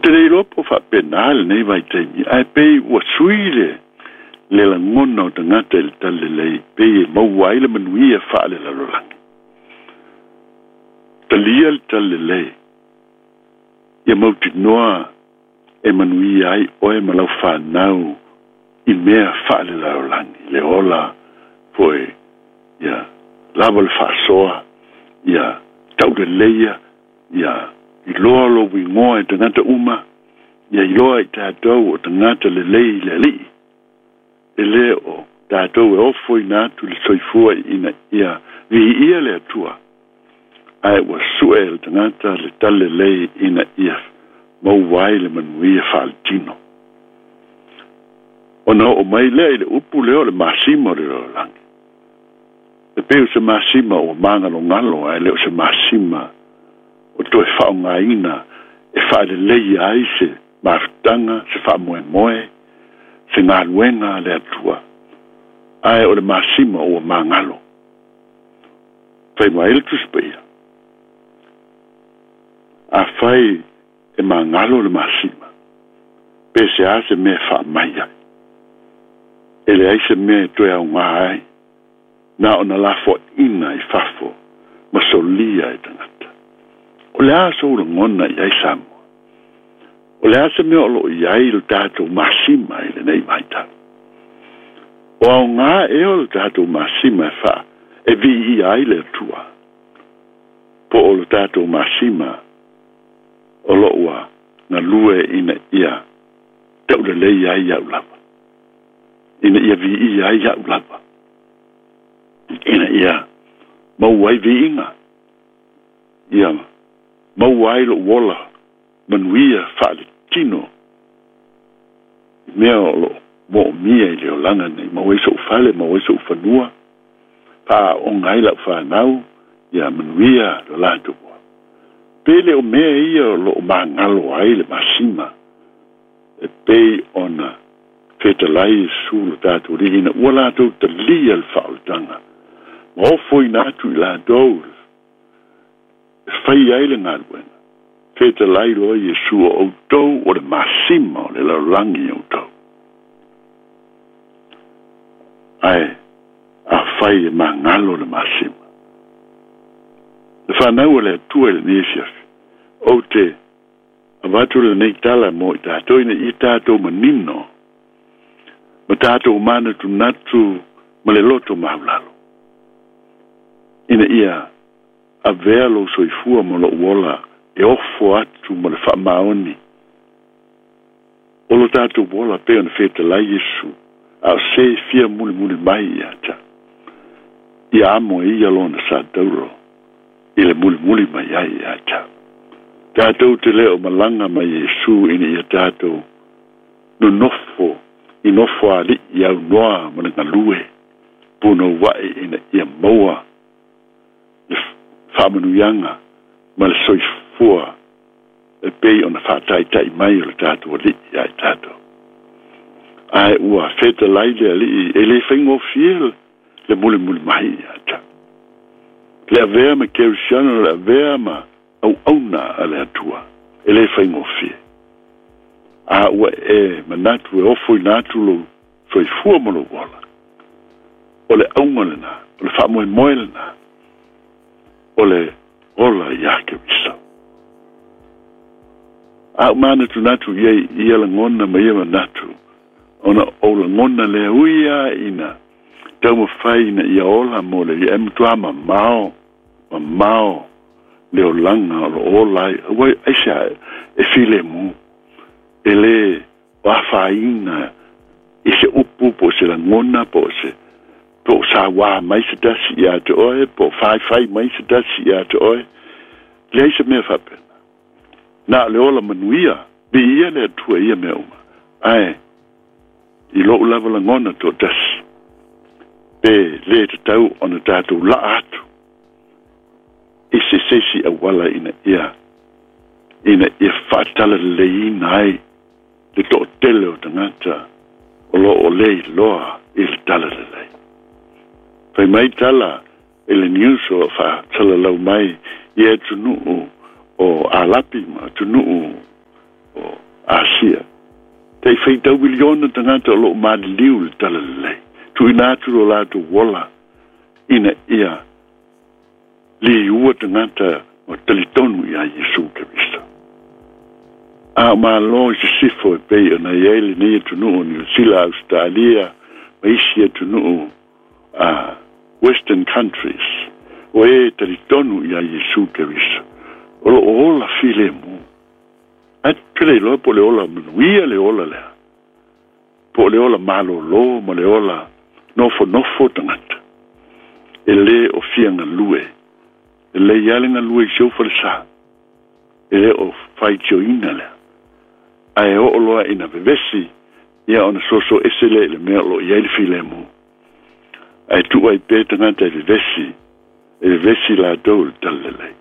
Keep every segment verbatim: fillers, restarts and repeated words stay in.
te le iloa po o faapenā lenei vaitaimi ae pei ua sui le le lagona o tagata i le talalelei pei e maua ai le manuia faalelalolagi. Talia le talalelei ia mautinoa e manuia ai oe ma lau fanau i mea faalelalolagi le ola foʻi ia lava le faasoa ia tauleleia ia iloa lou igoa e tagata uma ia iloa i tatou o tagata lelei i le alii e lē o tatou e ofoina atu le soifua ina ia viia le Atua ae ua suʻe e le tagata le talalelei ina ia maua ai le manuia faaletino. Ona oo mai lea i le upu lea o le masima o le lalolagi e pei o se masima ua magalogalo ae le o se masima o toe faaaogaina e faaleleia ai se mafutaga se faamoemoe se galuega a le Atua ae o le masima ua magalo. Fai mai le Tusi Paia afai e magalo le masima pe se a se mea faamai ai e leai se mea e toe augā ai na ona lafoaʻina i fafo ma solia e tagata. O le a sou lagona i ai Samoa? O le a se mea o loo i ai le tatou masima i lenei vaitau? O aogā ea o le tatou masima e faa e viia ai le Atua po o le tatou masima o loo ua galue ina ia taulelei ai ia'u lava ina ia viia ai ia'u lava ina ia maua ai viiga ia maua ai lo'u ola manuia faaletino i mea o loo moomia i le olaga nei maua ai so'u fale maua ai so'u fanua faaaoga ai la'u fanau ia manuia lo latou ola. Pe le o mea ia o loo magalo ai le masima e pei ona fetalai Iesu lo tatou Alii ina ua latou talia le faaolataga ma ofoina atu i latou e fai ai le galuega. Fetalai loa Iesu o outou o le masima o le lalolagi outou ae afai e magalo le masima le fanau o le Atua i lenei afiafi ou te avatu lenei tala mo i tatou ina ia tatou manino ma tatou manatunatu ma le loto maulalo ina ia avea lou soifua ma lou ola e ofo atu ma le faamaoni o lo tatou ola pei ona fetalai Iesu a o se fia mulimuli mai ia te ia amo e ia lona sa tauro i le mulimuli mai ai ia te tatou te le o malaga mai Iesu ina ia tatou nonofo i nofo ali'i aunoa ma le galue punoua'i ina ia maua le faamanuiaga ma le soifua e pei ona faataita'i mai o le tatou Alii ia i tatou. Ae ua fetalai le Alii e lē faigofie le mulimuli mai ia te le avea ma kerisiano le avea ma auauna a le Atua e lē faigofie. A ua e manatu e ofoina atu lou soifua ma lou ola o le auga lenā o le faamoemoe lenā o le ola iā Keriso. A ou manatunatu iai ia lagona ma ia manatu ona ou lagona lea ui a ina taumafai ina ia ola mo le ia e matuā mamao mamao le olaga o loo ola ai ua aisea e filemu e lē o afaina i se upu po o se lagona po o se po o sauā mai se tasi iā te oe po o faifai mai se tasi iā te oe leai se mea faapena na o le ola manuia viia le Atua ia mea uma ae i lou lava lagona toatasi pe lē tatau ona tatou laa atu i se seisi auala ina ia ina ia faatalaleiina ai le toatele o tagata o loo lē iloa i le talalelei. Fai mai tala i le news o faasalalau mai i atunuu o Alapi ma atunuu o Asia. Tai faitau miliona tagata o loo maliliu i le talalelei. Tuuina atu lo latou ola ina ia liua tagata o talitonu iā Iesu Keriso. A o mālō i sisifo e pei ona i ai lenei atunuu o Niusila, Ausetalia ma isi atunuu a Western countries o e talitonu iā Iesu Keriso o loo ola filemu. Ae tele iloa po o le ola manuia le ola lea, po o le ola malōlō ma le ola nofonofo tagata. E lē o fia galue, e lei lava le galue i si ou falesā, e lē o faitioina lea. Ae oo loa ina vevesi ia ona soso ese lea i le mea o loo i ai le filemu. Ae tuu ai pea tagata e vevesi, e vevesi latou i le talalelei.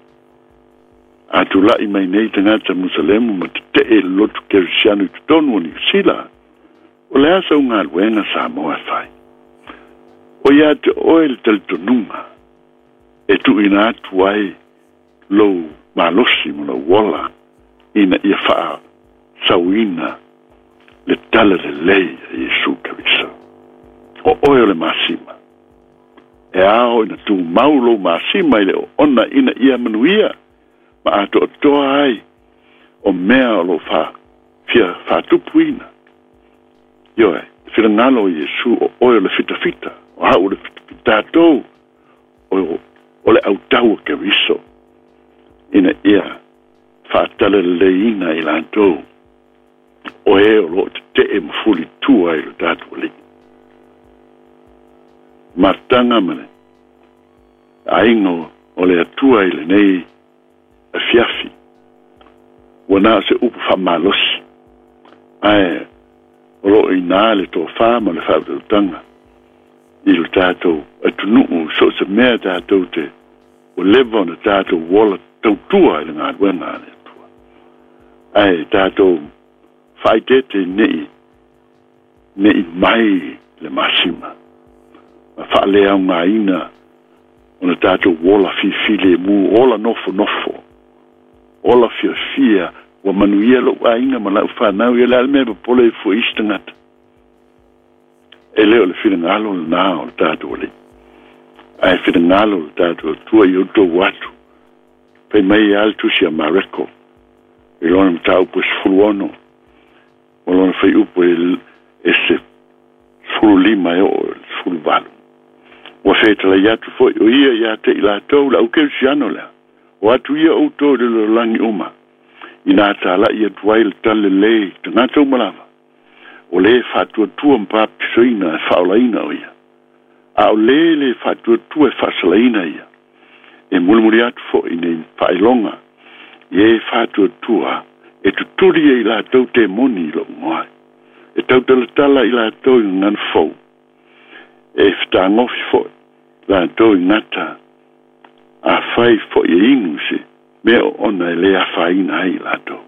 A tula'i mai nei tagata Musalemu ma tete'e i le lotu Kerisiano i totonu o Niusila, o le a sau galuega Samoa e fai? O ia te oe le talitonuga e tuuina atu ai lou malosi ma lou ola ina ia faasauina le talalelei a Iesu Keriso. O oe o le masima. E ao ina tumau lou masima i le oona ina ia manuia ma atoatoa ai o mea o loo fa fia faatupuina. Ioe, finagalo o Iesu o oe o le fitafita, o au o le fitatou o, o le autau o Keriso ina ia faatalaleleiina i latou o e o loo tetee ma fulitua i lo tatou alii. Mataga ma le aiga o le Atua i lenei afiafi ua na o se upu faamalosi, ae o loo inā le tofā ma le faautautaga i lo tatou atunuu so o se mea tatou te ua leva ona tatou ola tautua i le galuega a le Atua. Ae tatou faaeteete nei nei mai le masima ma faaleaogaina ona tatou ola filemu, ola nofonofo, ola fiafia ua manuia lou aiga ma lau fanau. Ia le a le mea popole ai fua isi tagata? E lē o le finagalo lenā o le tatou alii, ae finagalo le tatou Atua i outou atu. Fai mai a le tusi a Mareko i lona mataupu e sefulu ono o lona faiupu e se sefulu lima e oo i le sefulu valu. Ua fetalai atu foi o ia iā te i latou le aukerisiano lea, o atu ia outou i le lalolagi uma ina tala'i atu ai le talalelei tagata uma lava o lē faatuatua ma papatisoina e faaolaina o ia, a o lē le faatuatua e faasalaina ia. E mulimuli atu fo'i nei faailoga i e faatuatua e tutuli e i latou temoni i lou igoa, e tautalatala i latou i gagana fou, e fetagofi fo'i latou i gata afai fo'i e inu se mea o ona e lē afaina ai i latou.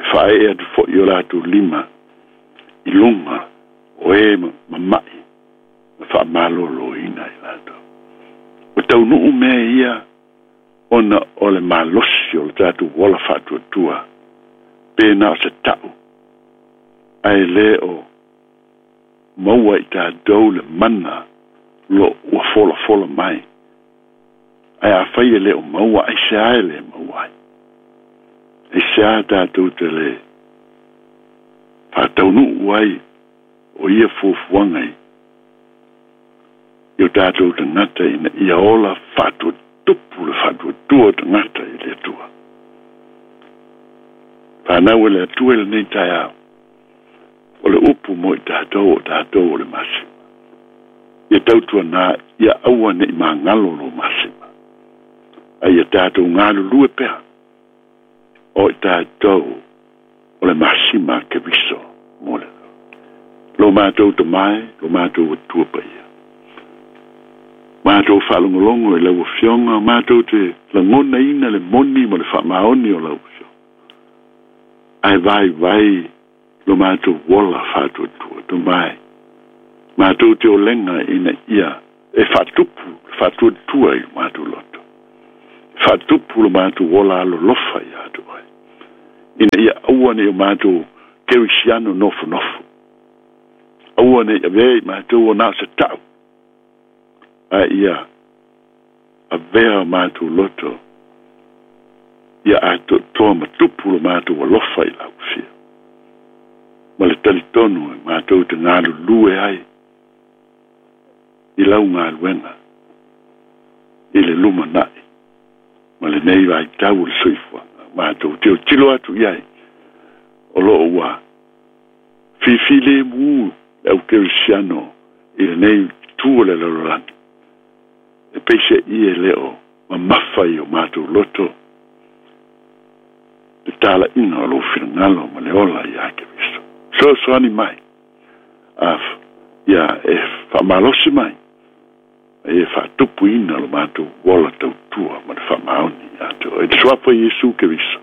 E faaee atu fo'i o latou lima i luga o e mama'i ma faamalōlōina i latou. Ua taunuu mea ia ona o le malosi o le tatou ola faatuatua pe na o se ta'u, ae lē o maua i tatou le mana lo ua folafola mai. Ae afai e lē o maua, aisea e lē maua ai? Aisea tatou te lē faataunuu ai o ia fuafuaga i i o tatou tagata ina ia ola faatuatupu le faatuatua tagata i le Atua? Fanau e le Atua i lenei taeao, o le upu mo i tatou o tatou o le masima. Ia tautuanā ia aua ne'i magalo lo masima, ae ia tatou galulue pea o i tatou o le masima a Keriso mo le lo matou tamae, lo matou Atua paia. Matou faalogologo i lau Afioga, matou te lagonaina le moni ma le faamaoni o lau Afioga, ae vaivai lo matou ola faatuatua. Tamae, matou te olega ina ia e faatupu le faatuatua i lo matou loto, faatupu lo matou ola alolofa iā te oe, Ina ia aua nei o matou kerisiano nofonofo. Aua nei avea i matou o na o se ta'u. Ae ia avea o matou loto ia atoatoa ma tupu lo matou alofa i lau afio. Ma le talitonu e matou te galulue ai i lau galuega i le lumanai ma lenei vaitau o le soifuaga. Matou tilotilo atu i ai o loo ua fifilemu le au kerisiano i lenei itu o le lalolagi. E peiseai e le o mamafa i o matou loto le talaiga o lou finagalo ma le ola ia Keriso. Fesoasoani mai a ia e faamalosi mai e faatupuina lo matou ola tautua ma le faamaoni ia te oe. I le suafa o Iesu Keriso.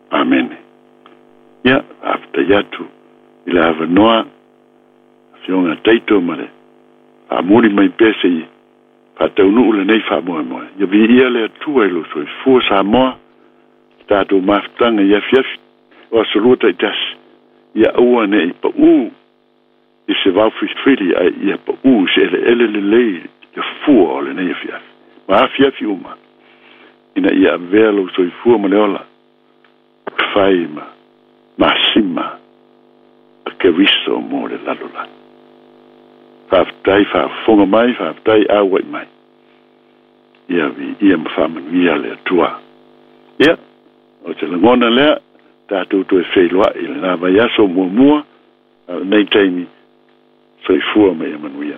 Amene. Ia, faafetai atu i le avanoa afioga Taito ma le faamuli mai pea seia faataunuu lenei faamoemoe. Ia viia le Atua i lou soifua Samoa, le tatou mafutaga i afiafi o aso lua taitasi, ia aua nei paū i se vaofilifili ae ia paū i se eleele lelei le fua o lenei afiafi ma afiafi uma, ina ia avea lou soifua ma le ola fai ma masima a Keriso mo le lalolagi. Faafetai faafofoga mai, faafetai auai mai. Ia viia ma faamanuia le Atua. Ia, o se lagona lea, tatou toe feiloai i lena vaiaso muamua, a o lenei taimi, soifua ma ia manuia.